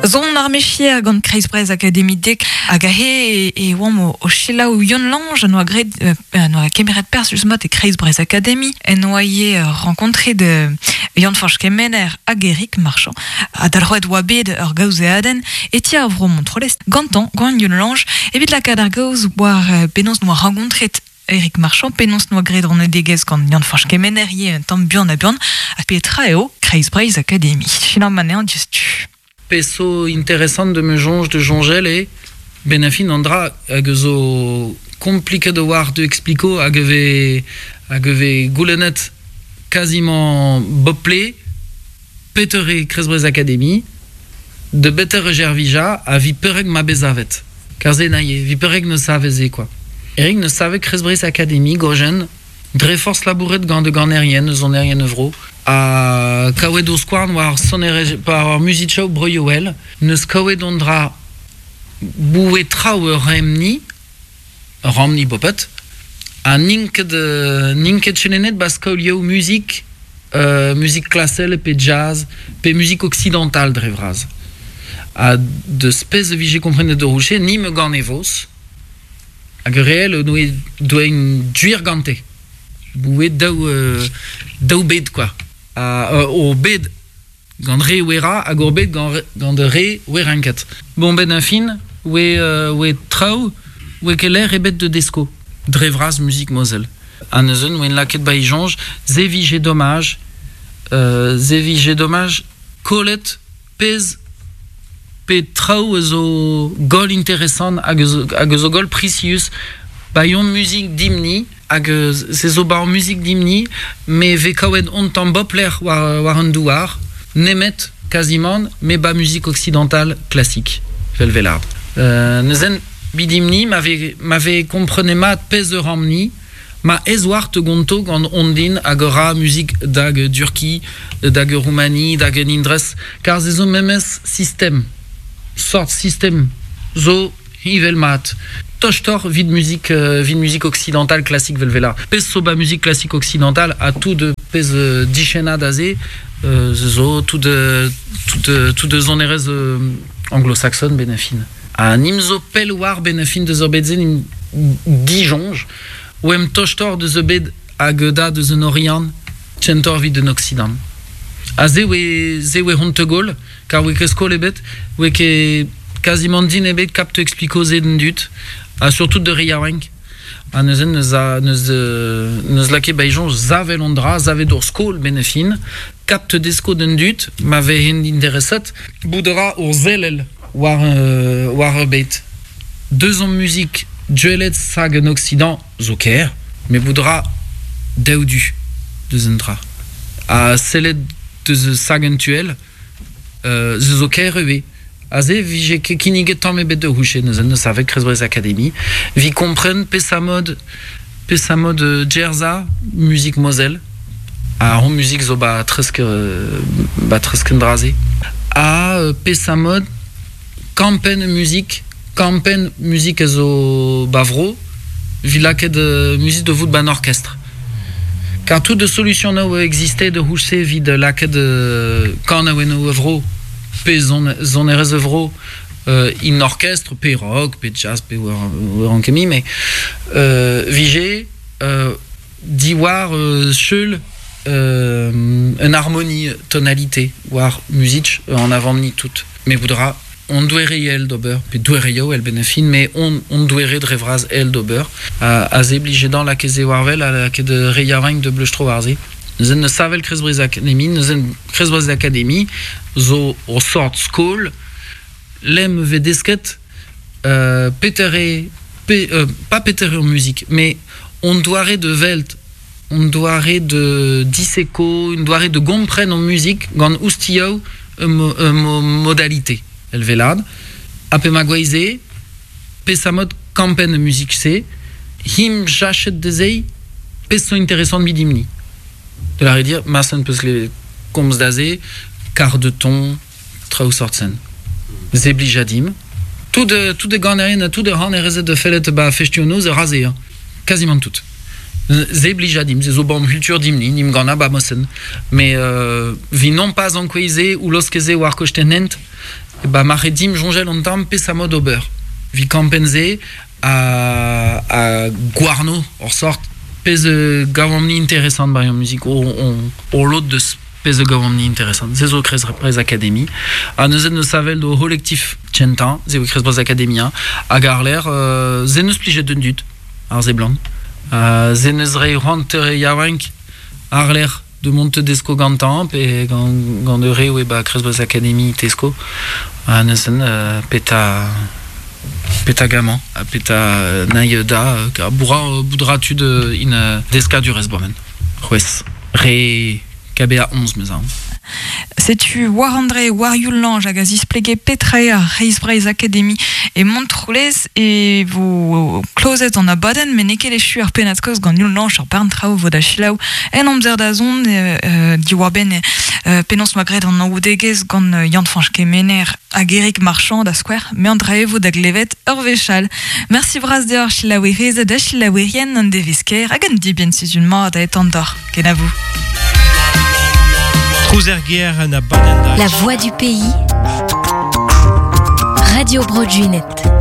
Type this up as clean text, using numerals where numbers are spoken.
Zon ar mechier gant Kreiz Breizh Akademi Dek hag aze e oamp o, o selaou Yann Lange en doa graet en doa kemeret perzh just-mat e Kreiz Breizh Akademi en doa ivez renkontret Yann-Fañch Kemener hag Eric Marchand ha dalc'hoet oa bet ur gaozeadenn e ti ar vro Montroulez gantañ gant Yann Lange evit lakaat ar gaoz war penaos 'noa renkontret Eric Marchand penaos 'noa graet anedegezh gant Yann-Fañch Kemener ivez un tamm buan ha buan ha petra eo Kreiz Breizh Akademi. Selaomp anezhañ diouzhtu. Pezh zo interesant de me soñj de soñjal eo benn ar fin an dra hag zo kompliket a-walc'h de explico hag e vez hag e vez goulennet quasiment bep plez petra eo Kreiz Breizh Akademi de beter e servijañ ha 'vit perak ma bet savet. Kar se naie, 'vit perak ne save se quoi. Eric ne save Kreiz Breizh Akademi gojen dre forzh labouret gant e ganerien eus sonerien e vro ha kaouet o skouarn war sonerezh war muzikoù broioù-all n'eus kaouet an dra boue traoù ur remni ur ramni bopet ha n'int ket n'int ket chelennet 'ba skolioù muzik muzik klasel pe jazz pe muzik occidental dre vras ha deus pezh e vije komprenet d'ur rocher ni me gane vos Hag ur re all doa un gwir gante. Boue daou, daou bed quoi. Ha o bed gant re Wera hag ur bed gant, gant re Werenket. Bon, ben un fin, oe, oe traoù, oe ket lec'h ebet de desko. Dre vras muzik Moselle. Ha neuze oen lakaet ba e soñj, se vije domaj, se vije domaj kollet pezh pe traoù a zo goll interesant hag hag a zo goll prisius ba yon muzik dimp-ni hag se zo ba hor muzik dimp-ni me vez kaouet on tamm boplec'h war war an douar nemet kazimant me ba muzik occidental klasik vel velard. Neuzen bidimp-ni ma vez ma vez komprenet mat pezh eur amp-ni Ma ez oar te gonto gant Ondin hag ur ra muzik dag Durki, dag Roumani, dag Indres, kar se zo memes sistem, sort sistem zo heñvel mat. Tostoc'h 'vit muzik 'vit muzik occidental klasik 'vel vela. Pezh zo ba muzik klasik occidental ha tout pezh dichennad aze zo tout tout tout sonerezh anglo-saxon 'benn ar fin. Ha nim zo pell war 'benn ar fin deus ur bed-se nim disoñj. Oemp tostoc'h deus ur bed hag da deus un Oriant kentoc'h evit un Occident. Ha se oe se oe hon tegaol, kar oe ket skol ebet, oe ket kazimant din ebet kap te explico se d'an dud, ha surtout de re yaouank. Ha neuze neus a neus neus lakaet ba e soñj savel an dra, savet ur skol 'benn ar fin, kap te desko d'an dud ma vehent intereset, bout a ra ur sellel war war ur bed. Deus hon muzik duellet hag un Occident zo ker, met bout 'ra daou du deus un dra. Ha sellet deus sag un tuell, se zo ker ivez. Aze 'vije ket kinniget tamm ebet da c'houchet neuze neus savet Kreiz Breizh Akademi. 'Vit kompren peseurt mod peseurt mod Jerza, muzik Moselle. Ha hon muzik zo ba tresk ba tresk an dra-se. Ha peseurt mod Kampenn muzik, kampenn muzik a zo ba vro, 'vit lakaat muzik da vout 'ba 'n orkestr. Kar tout de solusionoù a egziste da c'houlz-se evit lakaat kanaouennoù a vro, pe sonerezh a vro, in orkestr, pe rock, pe jazz, pe war an kemi, mais 'vije diwar seul un harmonie tonalité war muzik an avant-ni tout. Me voudra on doere el d'ober, pe doereioù el benn fin, mais on, on doere dre vras el d'ober. A ze blijedañ lakaet war wel ha lakaet re yaouank de bleustro war se. Neuze ne savel Kreiz Akademi, neuze Kreiz Akademi zo o sort skol lem vez desket petere pe pas petere ur muzik, mais on doare de welt on doare de diseko, un doare de gompren on muzik gant oustioù modalité el velad. Ha pe ma gweize, pe sa mod kampenn muzik-se, him jachet dezei, pezh zo interesant midimni. De la redire, ma sen peus le komz da se, quart de ton, traoù sort-sen. Se blija dimp. Tout tout e ganerien ha tout e c'hanerezed de fellet ba festioù-noz e ra-se, hein. Quasiment tout. Se blija dimp, se zo bam culture dimp-ni, nim gana ba mosen. Mais vi non pas ankoueze ou loskeze war kostenn hent, Ba ma ret dimp soñjal un tamm peseurt mod ober. Evit kampenn-se ha, ha gouarno ur sort pezh gavomp-ni interesant ba ur muzik o, o, o lod deus pezh gavomp-ni interesant. Se zo Kreiz Breizh Academy. Ha neuze neus savel do c'holektif kentañ, se eo Kreiz Breizh Academy, hag àr-lerc'h se neus plijet d'un dud, ar seblant. Se neus reiñ c'hoant re yaouank àr-lerc'h de mont desko gantañ pe gant, gant ur re oe ba Kreiz Breizh Academy tesko. Ha neuze peta peta gamañ ha peta naï da boura boudra tud in deskadurezh bomen. C'hwezh re KBA 11 meus aon. Setu war André war Youl Lange hag a zisplege petra eo ar Reiz Breizh Academy e Montroulez e vo klozet an abadenn met n'eo ket echu ar pennad-kaoz gant Youl Lange ur bern traoù vo da selaou en amzer da zont diwar-benn penaos 'ma graet an anaoudegezh gant Yann-Fañch Kemener hag Erik Marchand da skouer me an dra e vo da glevet ur wech all. Mersi bras deoc'h selaouerezed ha selaouerien an devezh kaer hag un dibenn sizhun mat a etan deoc'h. Kenavo. La voix du pays. Radio Bro Gwened.